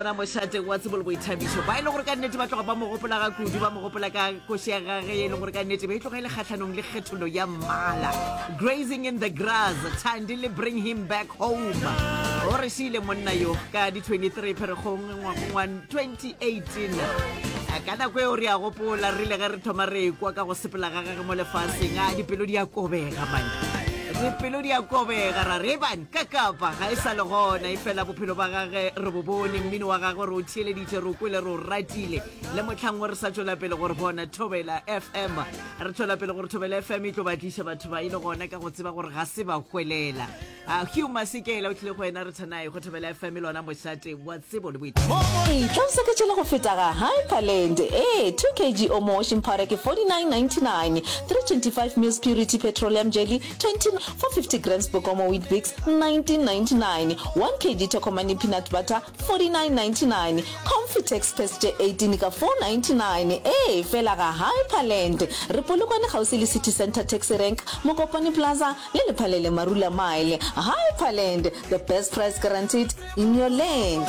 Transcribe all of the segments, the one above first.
Bona mošate wa tsebo le boithabišo ba e le gore ka nnete ba tloga ba mo gopola ga kudu, ba mo gopola ka koši ya gage e le gore ka nnete be e tloga e le kgahlanong le kgethollo ya mmala. Grazing in the grass, Thandi le Bring Him Back Home. O re šiile monna yo ka di 23 Pherekgong ngwagong wa 2018. Ka nako eo re a gopola re ile ge re thoma re ekwa ka go sepela ga gage mo lefaseng, a dipelo di a kobega man. Dipelo di a kobega ra re ban ka kapa ga e sa le gona, efela bophelo ba gage re bo bone, mmino wa gagwe re o theeleditše, re o kwele, re o ratile. Le mohlang wo re sa tšwela pele go re bona Thobela FM, re tšwela pele gore Thobela FM e tlo ba tliša batho ba e le gona ka go tseba gore ga se ba hwelela. Uh, Hugh Masekela o tlile go wena re thanae go Thobela FM le ona mošate wa tsebo le boithabišo. Etla o seketšele go feta ga Hyperland. Ee, 2 kg Omo washing powder ke 49.99, 325 mils Purity petroleum jelly 20, 450 grams Bokomo Weet-Bix 19.99, 1 kg Tokomane peanut butter 49.99, Comfitex pads tše 18 ka 4.99. Ee, fela ga Hyperland. Re Polokwane kgauswi le City Centre Taxi Rank, Mokopane Plaza le Lephalele Marula Mile. Hyperland, the best price guaranteed in your land.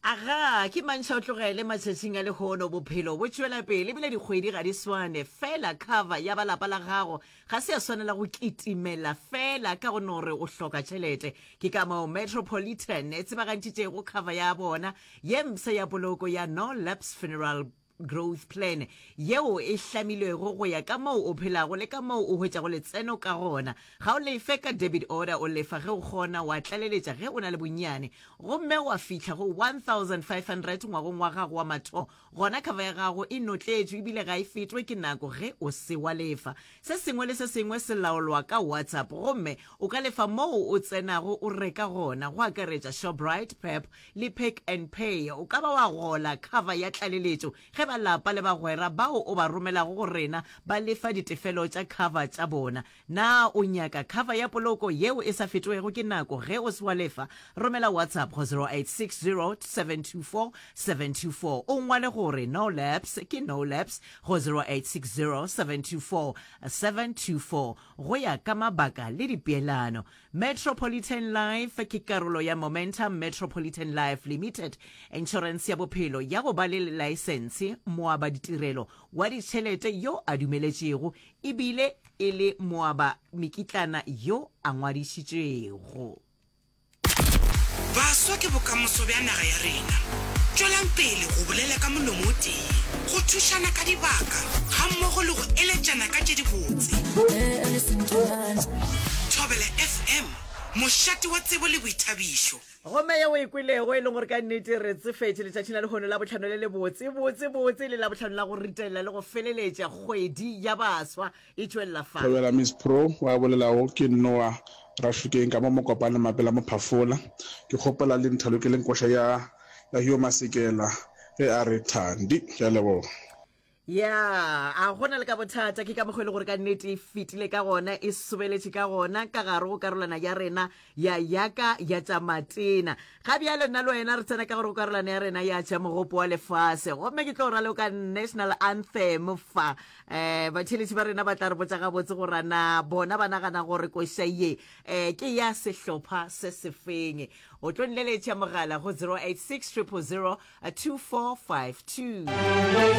Aga, ke mantšha o tlogele matšatšing a lehono bophelo bo tšwela pele ebile dikgwedi ga di swane fela cover ya ba lapa la gago ga se ya swanela go kitimela fela ka go no re o hloka tšhelete. Ke ka moo Metropolitan e tsebagantšitšego cover ya bona ye mpsha ya poloko ya No Lapse Funeral Growth Plan yeo e hlamilwego go ya ka moo o phelago le ka moo o hwetšago letseno ka gona. Ga o lefe ka debit order, o lefa ge o kgona, wa tlaleletša ge o na le bonnyane gomme wa fihla go 1500 ngwagong wa gago wa mathomo, gona cover ya gago e notletšwe ebile ga e fetwe ke nako ge o se wa lefa. Se sengwe le se sengwe se laolwa ka WhatsApp gomme o ka lefa moo o tsenago o reka gona, go akaretša Shoprite, Pep le Pick n Pay. O ka ba wa gola cover ya tlaleletšo ge ba lapa le bagwera bao o ba romelago go rena ba lefa ditefelo tša cover tša bona. Na o nyaka cover ya poloko yeo e sa fetwego ke nako ge o se wa lefa? Romela WhatsApp go 0860 724 724 o ngwale gore No Lapse ke No Lapse go 0860 724 724 go ya ka mabaka le dipeelano. Metropolitan Life ke karolo ya Momentum Metropolitan Life Limited, inšorense ya bophelo ya go ba le laesense, moabaditirelo wa ditšhelete yo a dumeletšego ebile e le moaba mekitlana yo a ngwadišitšwego. Baswa ke bokamoso bja naga ya rena. Tšwelang pele go bolela ka molomo o tee, go thušana ka dibaka gammogo le go eletšana ka tše dibotse. Thobela FM, mošate wa tsebo le boithabišo. Gomme ye o e kwelego, e leng gore ka nnete re tsefetše letšatšing la lehono la bohlano le lebotse, botse, botse, le labohlano la go ritela le go feleletša kgwedi ya baswa e tšwelela fa. Thobela Miss Pro wa bolelago ke Noah Rashukeng ka mo Mokopane Mapela Mophafola. Ke kgopela le nthalokeleng koša ya ya Hugh Masekela ge a re Thandi. Ke a leboga. Ya, a gona le ka bothata, ke ka mokgwa e le gore ka nnete e fetile ka gona, e sobeletše ka gona ka gare go karolwana ya rena ya yaka ya tša matena. Ga bjale nna le wena re tsena ka gare go karolwana ya rena ya tša mogopo wa lefase, gomme ke tlo raloka national anthem fa. Um batheeletši ba rena ba tla re botša gabotse gore na bona ba nagana gore koša ye um ke ya sehlopha se sefeng. O tlo nleletša mogala go 086 000 2452.